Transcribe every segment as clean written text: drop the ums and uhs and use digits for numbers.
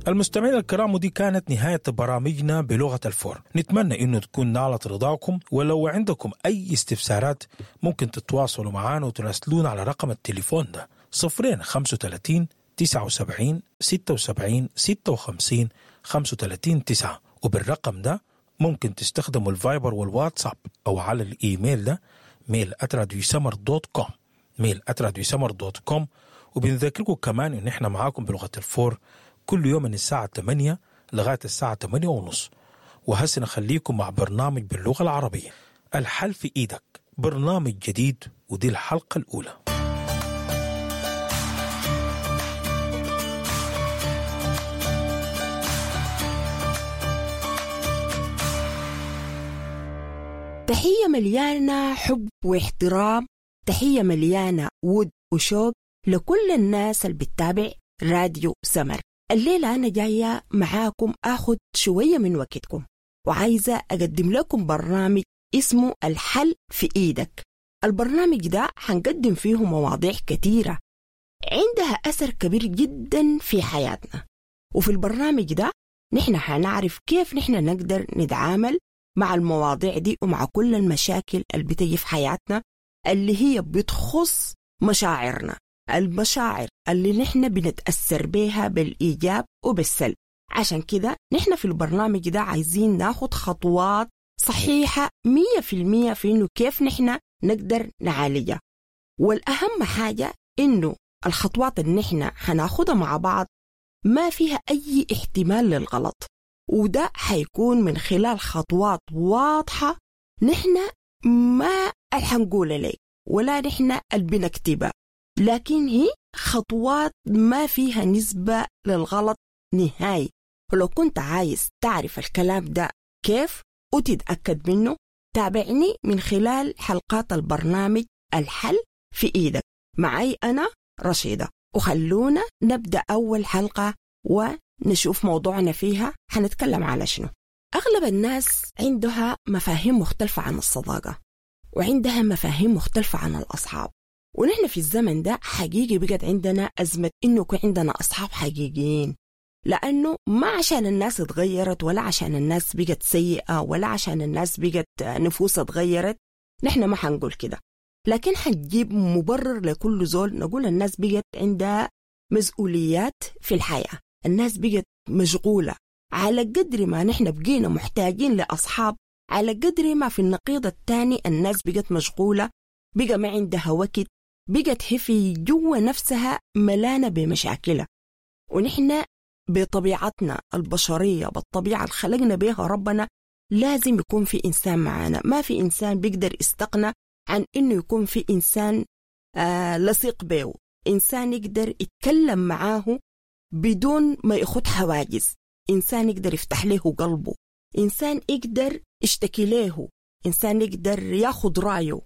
المستمعين الكرام، ودي كانت نهاية برامجنا بلغة الفور. نتمنى انه تكون نالت رضاكم، ولو عندكم اي استفسارات ممكن تتواصلوا معنا وتراسلونا على رقم التليفون ده 0 35 79 76 56 35 9، وبالرقم ده ممكن تستخدموا الفايبر والواتساب، او على الايميل ده mail@radiosmr.com، mail@radiosmr.com. وبنذكركم كمان ان احنا معاكم بلغة الفور كل يوم من الساعة 8 لغاية الساعة 8 ونص. وهسه نخليكم مع برنامج باللغة العربية، الحل في إيدك، برنامج جديد، ودي الحلقة الأولى. تحية مليانة حب واحترام، تحية مليانة ود وشوق لكل الناس اللي بتتابع راديو سمر. الليلة أنا جاية معاكم أخد شوية من وقتكم، وعايزة أقدم لكم برنامج اسمه الحل في إيدك. البرنامج ده حنقدم فيه مواضيع كتيرة عندها أثر كبير جدا في حياتنا، وفي البرنامج ده نحن حنعرف كيف نحن نقدر نتعامل مع المواضيع دي ومع كل المشاكل اللي بتجي في حياتنا اللي هي بتخص مشاعرنا، المشاعر اللي نحن بنتأثر بيها بالإيجاب وبالسلب. عشان كده نحن في البرنامج ده عايزين ناخد خطوات صحيحة 100% في إنه كيف نحن نقدر نعالجها. والأهم حاجة إنه الخطوات اللي نحن هناخدها مع بعض ما فيها أي احتمال للغلط، وده حيكون من خلال خطوات واضحة نحن ما حنقولها لك ولا نحن اللي بنكتبها، لكن هي خطوات ما فيها نسبة للغلط نهائي. ولو كنت عايز تعرف الكلام ده كيف وتتأكد منه، تابعني من خلال حلقات البرنامج الحل في إيدك معي أنا رشيدة. وخلونا نبدأ أول حلقة ونشوف موضوعنا فيها حنتكلم على شنو. أغلب الناس عندها مفاهيم مختلفة عن الصداقة، وعندها مفاهيم مختلفة عن الأصحاب، ونحن في الزمن ده حقيقي بقت عندنا أزمة إنه يكون عندنا أصحاب حقيقيين، لأنه ما عشان الناس اتغيرت ولا عشان الناس بقت سيئة ولا عشان الناس بقت نفوسها اتغيرت، نحن ما حنقول كده، لكن حنجيب مبرر لكل زول. نقول الناس بقت عندها مسؤوليات في الحياة، الناس بقت مشغولة. على قدر ما نحن بقينا محتاجين لأصحاب، على قدر ما في النقيض الثاني الناس بقت مشغولة، بقى ما عندها وقت، بقت هي في جوا نفسها ملانة بمشاكلها. ونحن بطبيعتنا البشرية، بالطبيعة اللي خلقنا بها ربنا، لازم يكون في إنسان معانا. ما في إنسان بيقدر يستغنى عن إنه يكون في إنسان لصيق به، إنسان يقدر يتكلم معاه بدون ما ياخد حواجز، إنسان يقدر يفتح له قلبه، إنسان يقدر يشتكي له، إنسان يقدر ياخد رأيه،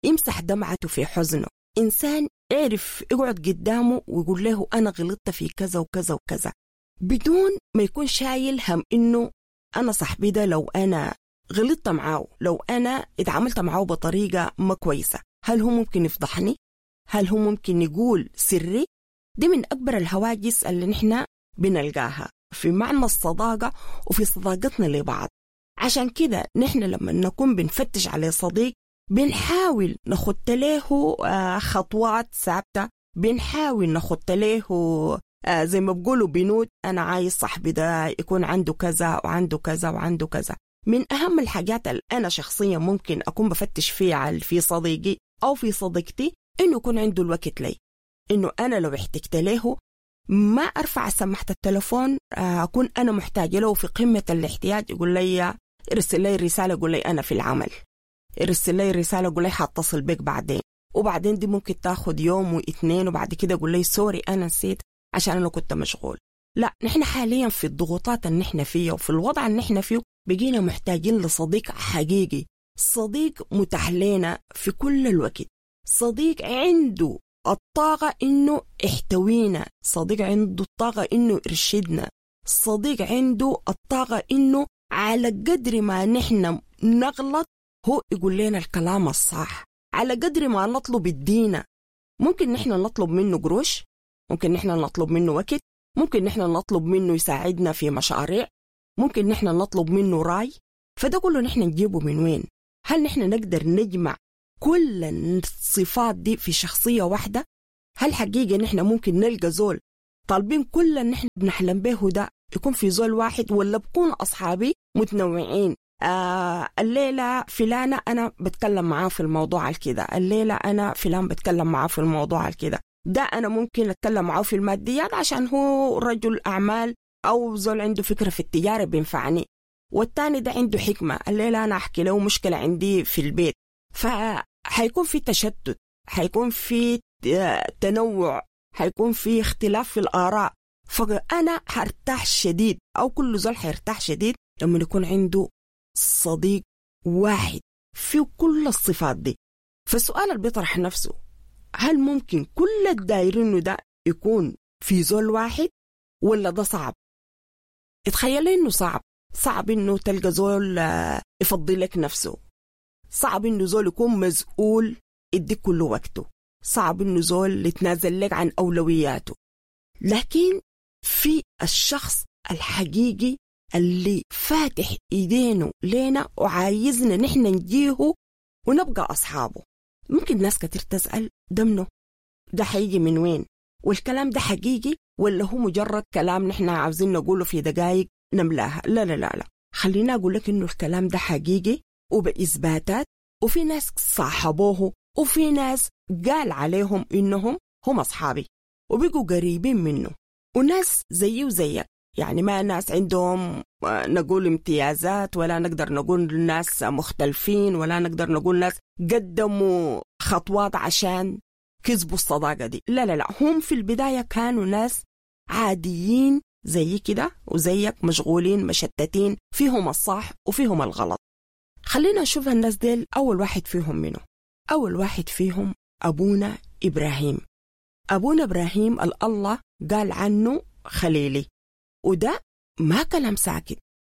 يمسح دمعته في حزنه، إنسان يعرف يقعد قدامه ويقول له أنا غلطت في كذا وكذا وكذا، بدون ما يكون شايل هم إنه أنا صاحبي ده لو أنا غلطت معاه، لو أنا اتعاملت معاه بطريقة ما كويسة، هل هو ممكن يفضحني؟ هل هو ممكن يقول سري؟ دي من أكبر الهواجس اللي نحن بنلقاها في معنى الصداقة وفي صداقتنا لبعض. عشان كده نحن لما نكون بنفتش على صديق بنحاول نخط له خطوات ثابتة، بنحاول نخط له زي ما بقولوا بنود، أنا عايز صاحبي ده يكون عنده كذا وعنده كذا وعنده كذا. من أهم الحاجات اللي أنا شخصيا ممكن أكون بفتش فيها في صديقي أو في صديقتي إنه يكون عنده الوقت لي، إنه أنا لو احتجت له ما أرفع سماحة التلفون، أكون أنا محتاجة له في قمة الاحتياج يقول لي ارسل لي رسالة، يقول لي أنا في العمل، ارسل لي رسالة يقول لي حاتصل بك بعدين، وبعدين دي ممكن تاخد يوم واثنين، وبعد كده يقول لي sorry أنا نسيت عشان أنا كنت مشغول. لا، نحن حاليا في الضغوطات اللي نحن فيها وفي الوضع اللي نحن فيه بقينا محتاجين لصديق حقيقي، صديق متاح لنا في كل الوقت، صديق عنده الطاقة إنه يحتوينا، صديق عنده الطاقة إنه يرشدنا، صديق عنده الطاقة إنه على قدر ما نحن نغلط هو يقول لنا الكلام الصح، على قدر ما نطلب الدينا. ممكن نحن نطلب منه قروش، ممكن نحن نطلب منه وقت، ممكن نحن نطلب منه يساعدنا في مشاريع، ممكن نحن نطلب منه راي. فده كله نحن نجيبه من وين؟ هل نحن نقدر نجمع كل الصفات دي في شخصية واحدة؟ هل حقيقة نحن ممكن نلقى زول طالبين كل اللي نحن بنحلم به ده يكون في زول واحد، ولا بكون أصحابي متنوعين؟ الليلة فلانة أنا بتكلم معاه في الموضوع الكده، الليلة أنا فلان بتكلم معاه في الموضوع الكده، ده أنا ممكن أتكلم معاه في الماديات عشان هو رجل أعمال أو زول عنده فكرة في التجارة بينفعني، والتاني ده عنده حكمة، الليلة أنا أحكي له مشكلة عندي في البيت. فحيكون في تشتت، حيكون في تنوع، حيكون في اختلاف في الآراء. فأنا حرتاح شديد، أو كل زول حيرتاح شديد لما يكون عنده صديق واحد في كل الصفات دي. فالسؤال اللي بيطرح نفسه، هل ممكن كل الدايرين ده يكون في زول واحد ولا ده صعب؟ اتخيل انه صعب. صعب انه تلقى زول يفضي لك نفسه، صعب انه زول يكون مسؤول يديك كل وقته، صعب انه زول يتنازل لك عن اولوياته. لكن في الشخص الحقيقي اللي فاتح ايدينه لينا وعايزنا نحن نجيه ونبقى اصحابه. ممكن ناس كتير تسأل ده منه؟ ده حيجي من وين؟ والكلام ده حقيقي ولا هو مجرد كلام نحن عاوزين نقوله في دقايق نملاها؟ لا لا لا لا، خلينا أقول لك إنه الكلام ده حقيقي وبإثباتات، وفي ناس صاحبوه وفي ناس قال عليهم إنهم هم أصحابي وبقوا قريبين منه، وناس زيي وزيك، يعني ما ناس عندهم نقول امتيازات، ولا نقدر نقول ناس مختلفين، ولا نقدر نقول ناس قدموا خطوات عشان كسبوا الصداقة دي. لا لا لا، هم في البداية كانوا ناس عاديين زي كده وزيك، مشغولين مشتتين، فيهم الصح وفيهم الغلط. خلينا نشوف الناس ديل. أول واحد فيهم منه؟ أول واحد فيهم أبونا إبراهيم. أبونا إبراهيم الله قال عنه خليلي، وده ما كلام ساكت،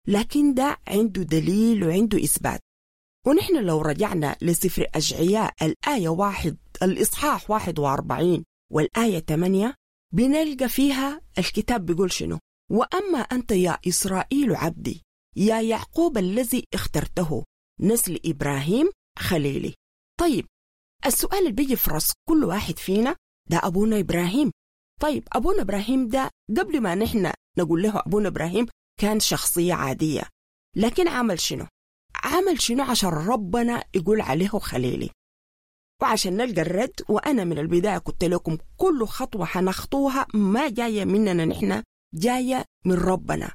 لكن ده عنده دليل وعنده إثبات. ونحن لو رجعنا لسفر أشعياء الآية 1 الإصحاح 41 والآية 8 بنلقى فيها الكتاب بيقول شنو؟ وأما أنت يا إسرائيل عبدي، يا يعقوب الذي اخترته، نسل إبراهيم خليلي. طيب السؤال اللي بيجي في راس كل واحد فينا، ده أبونا إبراهيم. طيب أبونا إبراهيم ده قبل ما نحن نقول له أبونا إبراهيم كان شخصية عادية، لكن عمل شنو؟ عمل شنو عشان ربنا يقول عليه خليلي؟ وعشان نلقى الرد، وأنا من البداية قلت لكم كل خطوة حنخطوها ما جاية مننا نحن، جاية من ربنا.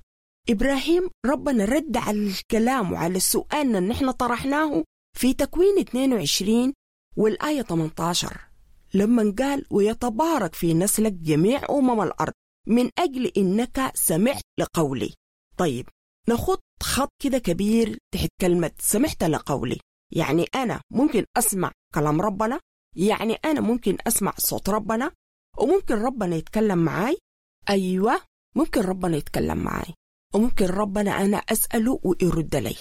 إبراهيم ربنا رد على الكلام وعلى السؤال اللي نحن طرحناه في تكوين 22 والآية 18 لما قال ويتبارك في نسلك جميع أمم الأرض من أجل إنك سمعت لقولي. طيب نخط خط كده كبير تحت كلمة سمعت لقولي. يعني أنا ممكن أسمع كلام ربنا، يعني أنا ممكن أسمع صوت ربنا، وممكن ربنا يتكلم معاي. أيوة ممكن ربنا يتكلم معاي، وممكن ربنا أنا أسأله ويرد لي،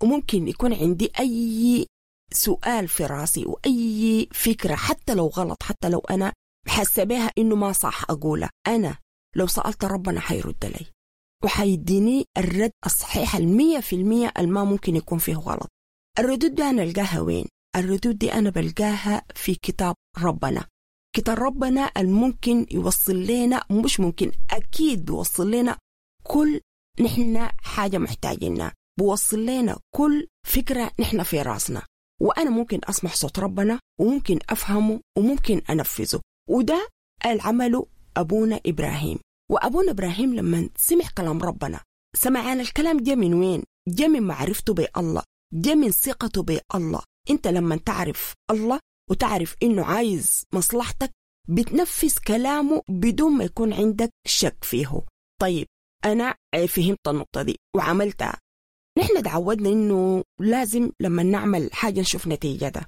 وممكن يكون عندي أي سؤال في راسي وأي فكرة حتى لو غلط، حتى لو أنا حاسة بها إنه ما صح أقولها، أنا لو سألت ربنا حيرد لي وحيديني الرد الصحيح 100% الما ممكن يكون فيه غلط. الردود دي أنا ألقاها وين؟ الردود دي أنا بلقاها في كتاب ربنا. كتاب ربنا الممكن يوصل لنا، مش ممكن، أكيد بيوصل لنا كل نحن حاجة محتاجينها، بيوصل لنا كل فكرة نحن في راسنا. وأنا ممكن أسمع صوت ربنا وممكن أفهمه وممكن أنفذه، وده العمل أبونا إبراهيم. وأبونا إبراهيم لما سمع كلام ربنا، سمعان الكلام جاء من وين؟ جاء من معرفته بالله، جاء من ثقته بالله. أنت لما تعرف الله وتعرف إنه عايز مصلحتك بتنفذ كلامه بدون ما يكون عندك شك فيه. طيب أنا فهمت النقطة دي وعملتها. نحن تعودنا إنه لازم لما نعمل حاجة نشوف نتيجتها.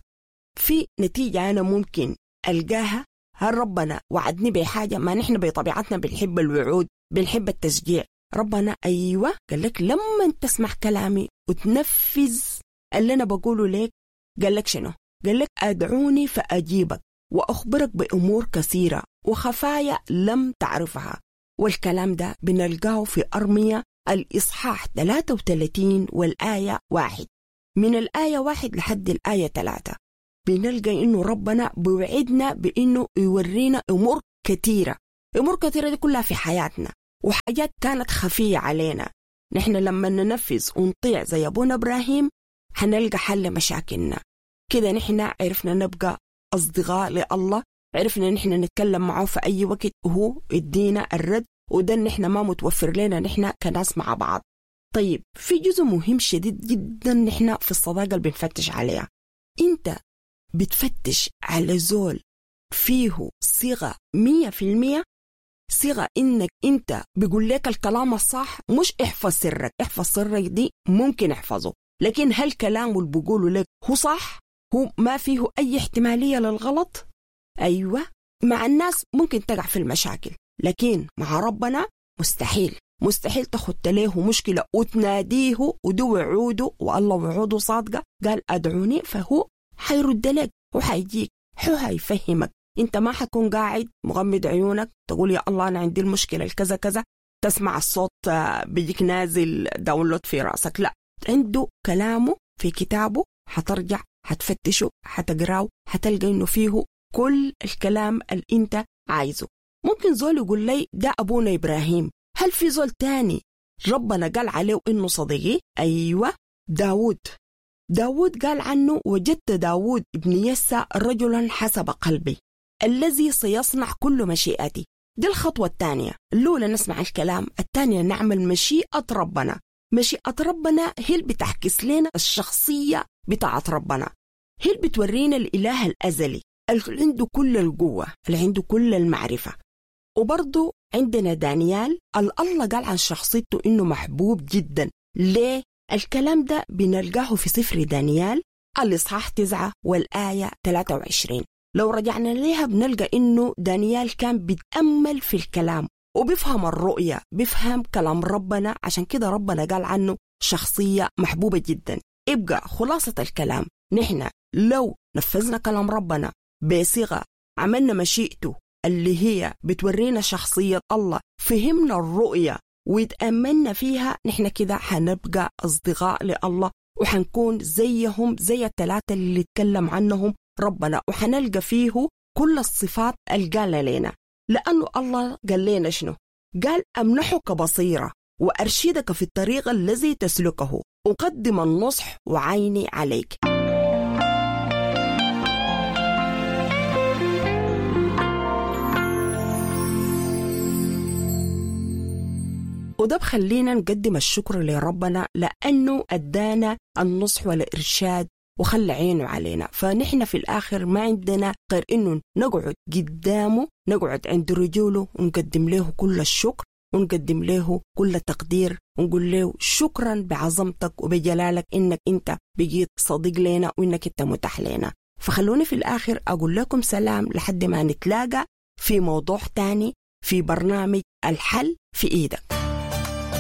في نتيجة أنا ممكن ألقاها؟ هل ربنا وعدني بحاجة؟ ما نحن بطبيعتنا بنحب الوعود، بنحب التشجيع. ربنا أيوة قال لك لما تسمع كلامي وتنفذ اللي أنا بقوله لك، قال لك شنو؟ قال لك أدعوني فأجيبك وأخبرك بأمور كثيرة وخفايا لم تعرفها. والكلام ده بنلقاه في أرمية الإصحاح 33 والآية 1، من الآية 1 لحد الآية 3 بنلقى إنه ربنا بوعدنا بإنه يورينا أمور كثيرة، أمور كثيرة دي كلها في حياتنا وحاجات كانت خفية علينا. نحن لما ننفذ ونطيع زي أبونا إبراهيم حنلقى حل مشاكلنا. كده نحن عرفنا نبقى أصدقاء لله، عرفنا نحن نتكلم معه في أي وقت وهو يدينا الرد، وده نحن ما متوفر لنا نحن كناس مع بعض. طيب في جزء مهم شديد جدا نحن في الصداقة اللي بنفتش عليها. أنت بتفتش على زول فيه صيغة 100%، صيغة إنك أنت بيقول لك الكلام الصح، مش احفظ سرك. احفظ سرك دي ممكن احفظه، لكن هل كلامه اللي بيقوله لك هو صح؟ هو ما فيه أي احتمالية للغلط؟ أيوة، مع الناس ممكن تقع في المشاكل، لكن مع ربنا مستحيل. مستحيل تخط له مشكلة وتناديه ودو وعوده، والله وعوده صادقة، قال أدعوني، فهو حيرد لك وحيجيك، هو هيفهمك. انت ما حتكون قاعد مغمض عيونك تقول يا الله أنا عندي المشكلة الكذا كذا، تسمع الصوت بيجيك نازل download في رأسك. لا، عنده كلامه في كتابه، حترجع حتفتشه حتقراه، حتلقى إنه فيه كل الكلام اللي انت عايزه. ممكن زول يقول لي ده أبونا إبراهيم، هل في زول تاني ربنا قال عليه إنه صديقي؟ أيوة، داود. داود قال عنه وجدت داود ابن يسى رجلا حسب قلبي الذي سيصنع كل مشيئتي. دي الخطوة الثانية، الأولى نسمع الكلام، الثانية نعمل مشيئة ربنا. مشيئة ربنا هي اللي بتعكس لنا الشخصية بتاعت ربنا، هي اللي بتورينا الإله الأزلي اللي عنده كل القوة، اللي عنده كل المعرفة. وبرضو عندنا دانيال، الله قال عن شخصيته إنه محبوب جدا. ليه؟ الكلام ده بنلقاه في سفر دانيال الإصحاح 9 والآية 23. لو رجعنا ليها بنلقى إنه دانيال كان بيتأمل في الكلام وبيفهم الرؤية، بيفهم كلام ربنا، عشان كده ربنا قال عنه شخصية محبوبة جدا. يبقى خلاصة الكلام، نحن لو نفذنا كلام ربنا بصيغة، عملنا مشيئته اللي هي بتورينا شخصية الله، فهمنا الرؤية ويتأملنا فيها، نحن كده حنبقى أصدقاء لله وحنكون زيهم زي الثلاثة اللي اتكلم عنهم ربنا، وحنلقى فيه كل الصفات اللي قال لنا. لأنه الله قال لنا شنو؟ قال أمنحك بصيرة وأرشدك في الطريق الذي تسلكه، أقدم النصح وعيني عليك. وده بخلينا نقدم الشكر لربنا لأنه أدانا النصح والإرشاد وخلى عينه علينا. فنحن في الآخر ما عندنا غير إنه نقعد قدامه، نقعد عند رجوله ونقدم له كل الشكر ونقدم له كل التقدير ونقول له شكرا بعظمتك وبجلالك إنك أنت بقيت صديق لنا وإنك أنت متاح لنا. فخلوني في الآخر أقول لكم سلام لحد ما نتلاقى في موضوع تاني في برنامج الحل في إيدك.